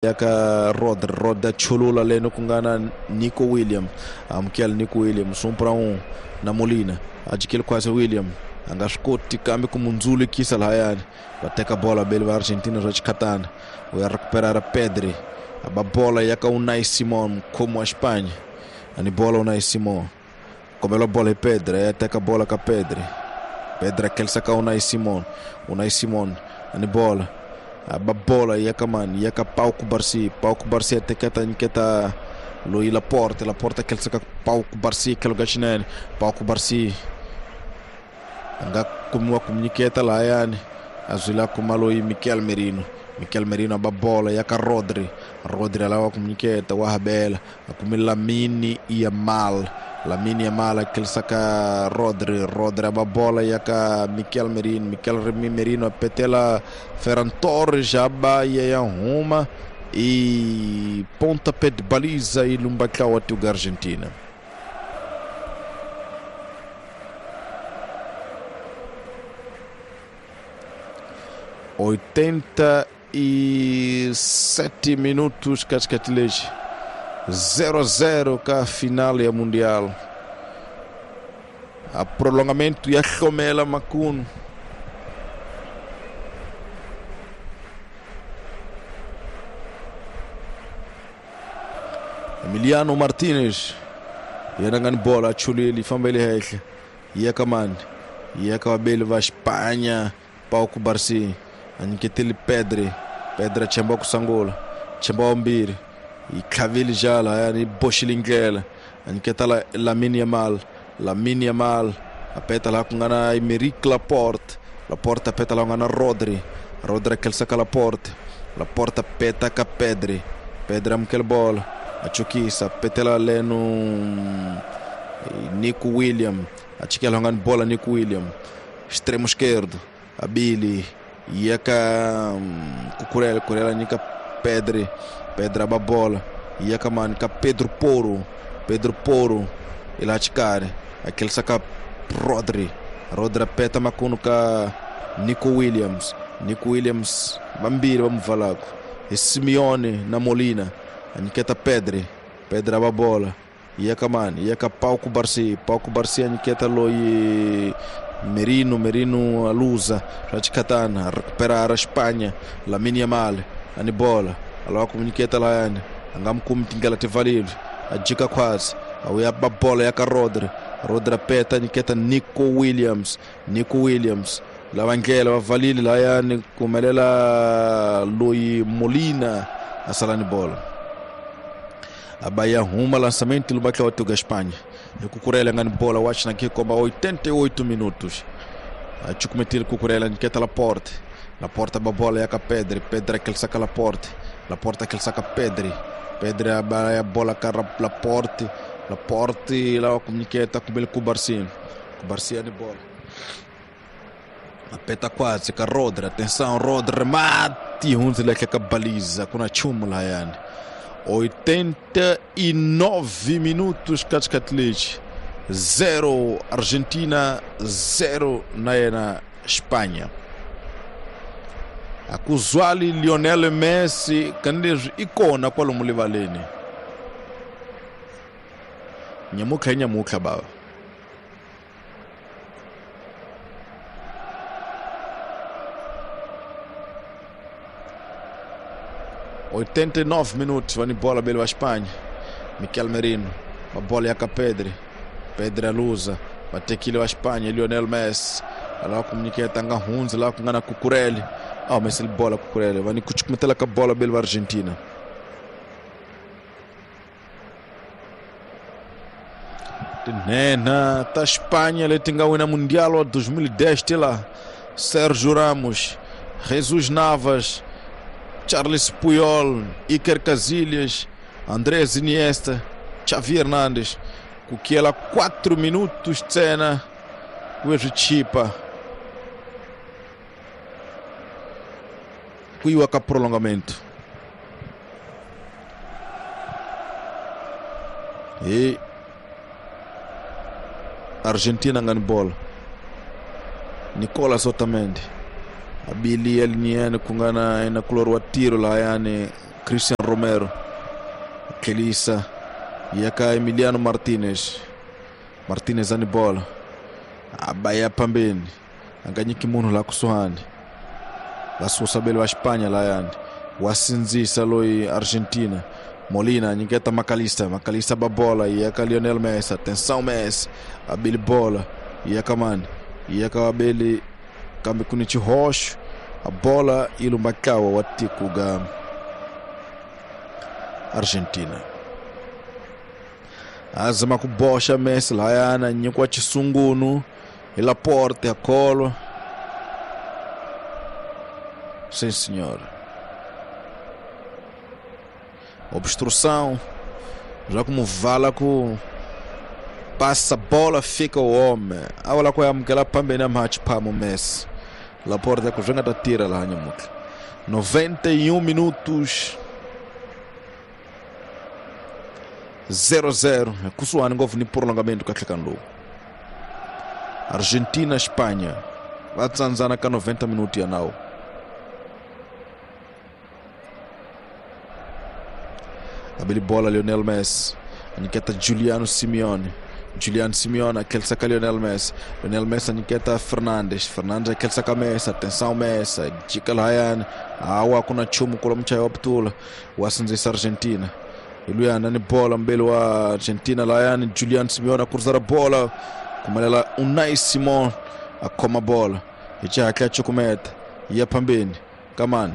ya ka Rodri, Rodri chulula leno ku nga na Nico William, amukela Nico Williams 1 para 1 na Molina, ajikele quase William a nga swi koti kambe ku mundzulukisa lahayani, va teka bola beli va Argentina swa xikhatana, u ya recuperar Pedri, a ba bola ya ka Unai Simon, mukhomi wa Espanha, ani bola Unai Simon, kombela bola hi Pedri, ya teka bola ka Pedri, Pedri akelisa ka Unai Simon, Unai Simon ani bola, a ba bola ya ka mani, ya ka Pau Cubarsí, Pau Cubarsí ateketa nyiketa loyi Laporte, Laporte akelisa ka Pau Cubarsí tlhelo ka xinene, Pau Cubarsí a nga kumiwa ku nyiketa lahayani, a zwila kuma loyi Mikel Merino, Mikel Merino a ba bola ya ka Rodri, Rodri a lava ku nyiketa wa habela, a kume Lamine Yamal, Lamine Yamal a tlherisa ka Rodri, Rodri a ba bola ya ka Mikel Merino, Mikel Merino a petela Ferran Torres, a ba ya ya huma e pontapé de baliza e lumba tlawa tuga Argentina. 87 minutos katikati 0-0 ka final ya Mundial. A prolongamento ya hlomela makunu. Emiliano Martinez yena nga ni bola achulile fambele henhla ya ka mani, ya ka vabeli va Espanha, Pau Cubarsí a nyiketele Pedri, Pedri a chemba ku sungula, chemba wa mbirhi, yi tlhavile jala yani yi boxile ndlela, a nyiketa Lamine Yamal, Lamine Yamal a peta laha ku nga na Aymeric Laporte, Laporte a peta laha ku nga na Rodri, Rodri a tlherisa ka Laporte, Laporte a peta ka Pedri, Pedri amukela bola, a chukisa, petela leno Nico William, a chikela nga ni bola Nico William, extremo esquerdo, a Billy ia ka Cucurella, Cucurella nyika Pedri, Pedri aba bola, ia ka mani ka Pedro Porro, Pedro Porro ila chikari, aquele saca Rodri, Rodri apeta makuno ka Nico Williams, Nico Williams vambirhi va muvalako, hi Simeone na Molina, a nyiketa Pedri, Pedri aba bola, ia ka mani, ia ka Pau Cubarsí, Pau Cubarsí a nyiketa loyi Merino, Merino alusa, swa xikhatana, recuperar a Espanha, Lamine Yamal, ani bola, a lava ku nyiketa lahayani, a nga mi kumi tindlela ti pfalile, a jika khwatsi, a vuya ba bola ya ka Rodri, Rodri a peta nyiketa Nico Williams, Nico Williams lava ndlela va valile lahayani, ku humelela loyi Molina a sala ni bola. A ba ya huma lançamento lumba tlawa tuga Espanha. E Cucurella nga ni bola watch na komba 88 minutos. A chukumetile Cucurella nyiketa Laporte, Laporte ba bola ya ka Pedri, Pedri aquele saca Laporte, Laporte aquele saca Pedri, Pedri ba ya bola ka Laporte, Laporte lá comuniceta com ele Cubarsí, Cubarsí ni bola. A peta quase ka Rodri, atenção Rodri remate hunzile ka baliza kuna chumu la yani. 89 minutos katikati 0 Argentina 0 na yena Espanha. Akuzwali Lionel Messi kanileswi i kona kwalomu rivaleni. Nyamutlha i nyamutlha bava. 89 minutos, vai bola belo a Espanha. Mikel Merino, a bola é a Pedri. Pedri alusa, vai ter que ir a Espanha, Lionel Messi. Lá comunica tanga hunz, lá com na Cucurella. Ah, mas ele bola Cucurella, vai meter a bola belo a Argentina. Nena, tá Espanha, ele tem ganho Mundial 2010, tem lá Sérgio Ramos, Jesus Navas, Charles Puyol, Iker Casillas, Andrés Iniesta, Xavi Hernández, com que ela 4 minutos de cena, o Chipa. Kuiwa ka prolongamento. E Argentina ngani bola. Nicolas Otamendi. Abili elniene kungana ina kulor wa tiro la yani Christian Romero tlhelisa ya ka Emiliano Martinez. Martinez ani bola a ba ya phambeni a nga nyiki munhu laha kusuhani va susa beli wa Espanha layani wa sindzisa loyi Argentina. Molina nyiketa Macalista, Macalista ba bola ya ka Lionel Messi. Atenção Messi, abili bola ya ka mani, ya ka abeli kambe ku ni xihoxo, a bola yi lumba ntlawa wa tiko ga Argentina. A zama ku boxa Messi lahayana, nyikiwa xisungunu hi Laporte, a kholwa. Sim senhor. Obstrução, já como vala ku passa bola fica o homem. Awala ku amukela phambeni a mhachi phamo Messi. Laporte ku swi nga ta tirha laha nyamuntlha. 91 minutos 0-0, kusuhani ngopfu ni prolongamento ka nhlekani lowu. Argentina Espanha va tsandzana ka 90 minuti ya nawu. Abeli bola Lionel Messi, anyiketa Giuliano Simeone. Julian Simeone tlhelisa ka Lionel Messi. Lionel Messi anyiketa Fernandes. Fernandes tlhelisa ka Messi. Atenção Messi, jika lahayani. Hawa ku na nchumu kula muchayi wa putula wa sindzisa Argentina. Hi luyana ni bola mbeli wa Argentina lahayani Julian Simeone a kurisa ra bola kumalela Unai Simon a khoma bola hi xihatla cukumeta ya phambeni ka mani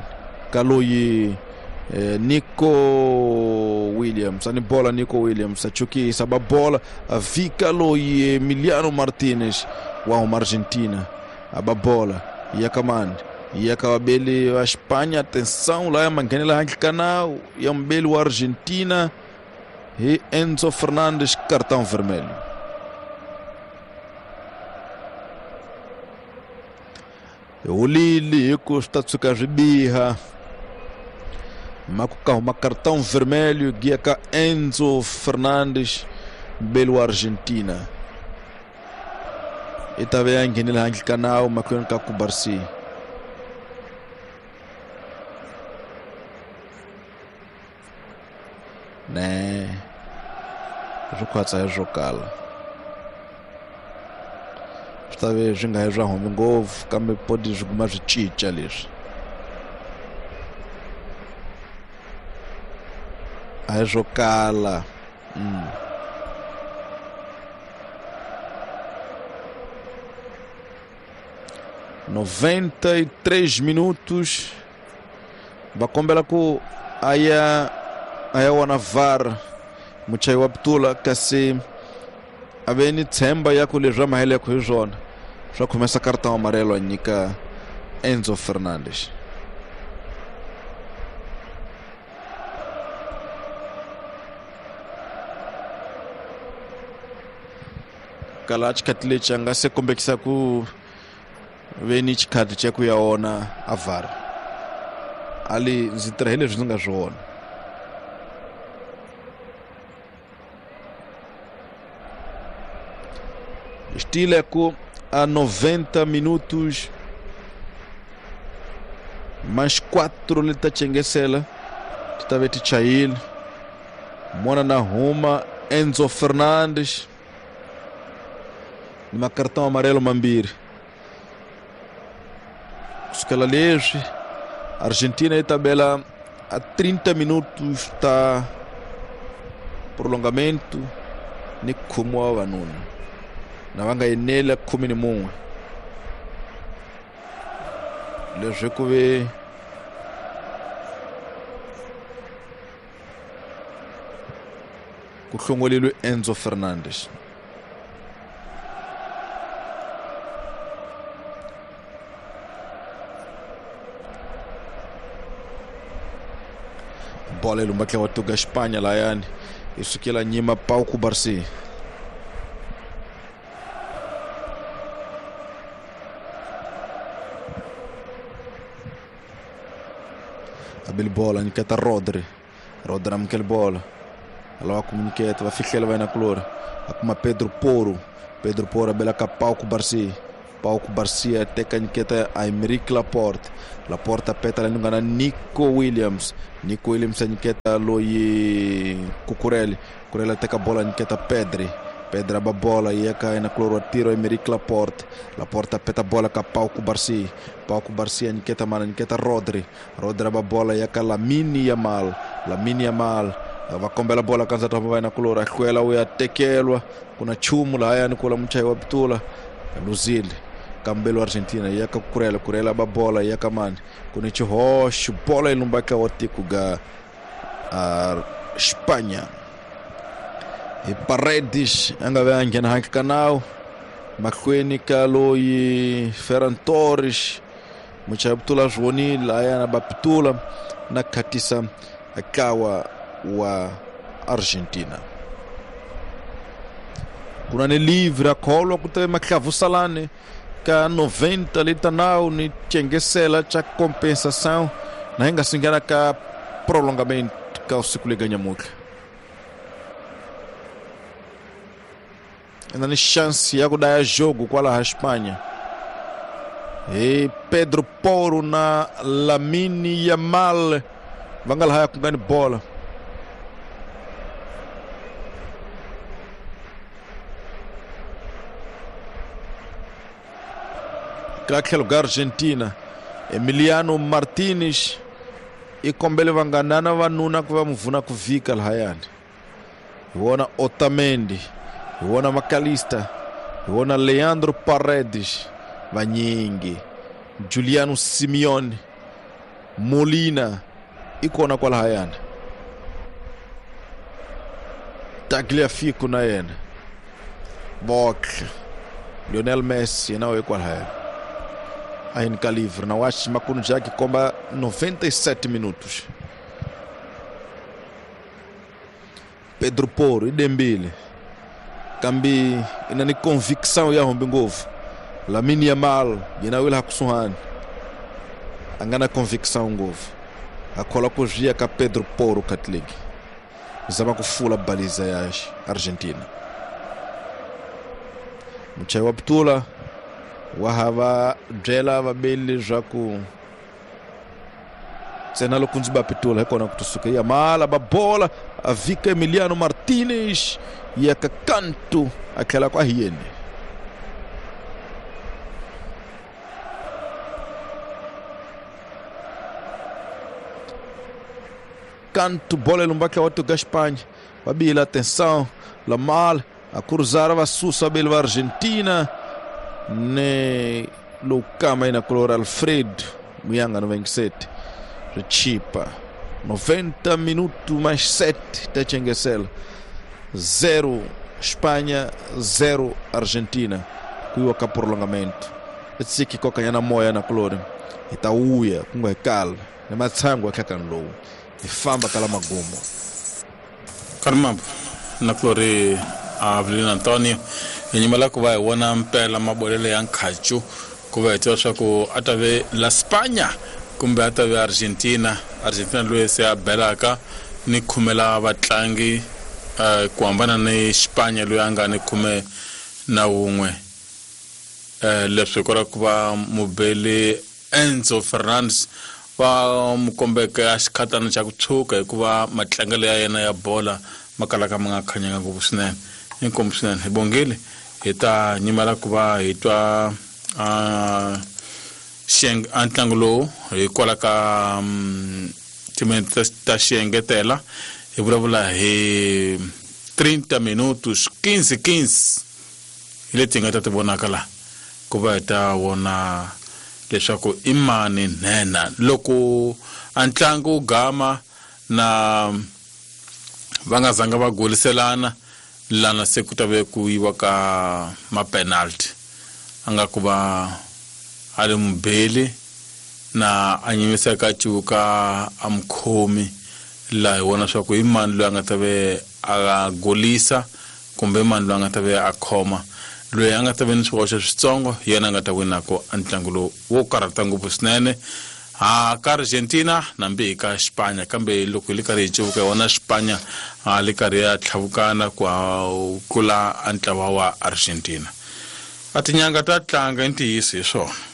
ka loyi Nico Williams ani bola Nico Williams a chukisa ba bola a vika loyi Emiliano Martinez wa huma Argentina a ba bola ya ka mani ya ka vabeli wa Espanha. Atenção la ya manghenela handle ka nawu ya mubeli wa Argentina hi Enzo Fernandes, cartão vermelho. Holile hi ku swi ta tshuka swi biha maku ka huma cartão vermelho guia ka Enzo Fernandes mubeli wa Argentina. I ta ve ya nghenile handle ka nawu mahlweni ka Kubarsi. Ne swi khwatsa hi swo kala swi ta ve swi nga hi swa humi ngopfu kambe podi swi kuma swi cinca leswi a hi swo kala. 93 minutos va kombela ku a ya wona VAR muchayi wa putula kasi a ve ni tshemba ya ku leswi va maheleko hi swona swa khomesa cartão amarelo a nyika Enzo Fernandes. Kala xikhati lexi a nga se kombekisa ku ve ni xikhati xa ku ya wona a VAR ali ndzi tirha hi leswi ndzi nga swi vona. Estileco a 90 minutos mais 4 lhe ta chengesela ti ta ve ti chayile mona na huma Enzo Fernandes ni macartão amarelo mambirhi kusukela leswi Argentina yi tabela a 30 minutos ta prolongamento ni khume wa vavanuna na va nga enela 11 leswi ku ve ku hlongoleliwe Enzo Fernandes. Bola lumba tla wa tuga Espanha layani i sukela nyima Pau Kubarsi. Abel bola nyiketa Rodri. Rodri amukela bola alava ku nyiketa va fihlela va yena kulori a kuma Pedro Poro. Pedro Poro abela ka Pau Kubarsi. Pau Cubarsí teka nyiketa Aymeric Laporte. Laporte peta la nga na Nico Williams. Nico Williams a nyiketa loyi Cucurella. Cucurella teka bola nyiketa Pedri. Pedri aba bola ya ka na kloro tiro Aymeric Laporte. Laporte peta bola ka Pau Cubarsí. Pau Cubarsí a nyiketa mana nyiketa Rodri. Rodri aba bola ya ka Lamine Yamal. Lamine Yamal va kombela bola kanza ta va na kulora hlwela u ya tekelwa kuna chumu lahaya ni kula muchayi wa pitula luzile kambelo Argentina ya ka Cucurella. Cucurella ba bola ya ka mani kuna chihoxo bola ilumbaka wa tiko ga Espanha. E Paredes a nga ve a nghena handle ka nawu mahlweni ka loyi Ferran Torres. Muchayi wa pitula swi vonile lahaya na ba pitula na khatisa ntlawa wa Argentina. Kuna ni livre a kholwa ku teve mahlavusalani ka 90 lita nawu ni tyengesela cha compensação na hi nga si nghena ka prolongamento ka usiku lega nyamutlha. Ina ni chance ya ku daya jogo kwalaha Espanha. E Pedro Porro na Lamine Yamal va nga lahaya ku nga ni bola. Ka tlhelo ka Argentina, Emiliano Martinez i kombele vanganana vanuna ku va muvuna ku vhika lahayani. Hi wona Otamendi, hi wona Macalista, hi wona Leandro Paredes, vanyingi Juliano Simeone, Molina i kona kwalahayani. Tagliafico na yena, Bock, Lionel Messi yena u kwalahayani. A ka livre na wachi makunu já que komba 97 minutos. Pedro Porro i dembile kambi ina ni convicção ya hombi ngopfu. Lamine Yamal yena wila kusuhani a nga na convicção ngopfu a kholwa ku zwiya ka Pedro Porro Catholic zama ku fula baliza ya Argentina. Muchayi wa pitula wa hava byela vabeli leswaku ntsena loko ndzi ba pitula hi kona ku tusuka. Yamal ba bola a vika Emiliano Martinez ya ka kanto a tlhela ku a hi yeni. Canto bola ilumbaka wa ga Espanha. Babila atenção Lamal a cruzar va susa bel va Argentina ne Lukama ina color Alfredo Muyanga 97 Richipa 90 minutos mais 7 Tchengesel 0 Espanha 0 Argentina kuiwa ka prolongamento etsiki koka na moya na color itauya kunga kala na matsango akakani lowu ifamba kala magumo karmambo na color Avelino Antonio inyuma ku va hi vona mpela mabolele ya nkhacu ku va hi tiva leswaku a ta ve la Spanya kumbe a ta ve Argentina. Argentina loyi se a belaka ni khumela vatlangi ku hambana ni Spanya loyi a nga ni 11 leswi kora ku va mubeli Enzo Fernandez va mu kombeke a xikhatana xa ku tshuka hikuva matlangelo ya yena ya bola ma kalaka ma nga khanyanga ngopfu swinene. Inkomu swinene hi bongile hi ta nyimela ku va hi twa a ntlangu lowu hikwalaho ka timinete ta xiengetela hi vulavula hi 30 minutos 15 15 hi leti hi nga ta ti vonaka laha ku va hi ta vona leswaku i mani nhenha loko a ntlangu wu gama na va nga zanga va goliselana lana se ku ta ve ku yiwa ka ma-penalty a nga ku va a ri mubeli na a nyimiseka cuka a mukhomi laha hi vona swa ku i mani loyi a nga ta ve a golisa kumbe mani loyi a nga ta ve a khoma loyi a nga ta ve ni swihoxo switsongo hi yena a nga ta winako a ntlangu lowu wo karhata ngopfu swinene ha ka Argentina nambi hi ka Spanya kambe loko hi le karhi hi cevuka hi vona Spanya a le karhi ya tlhavukana ku tlula a ntlawa wa Argentina. A tinyanga ta tlanga i ntiyiso hi swona.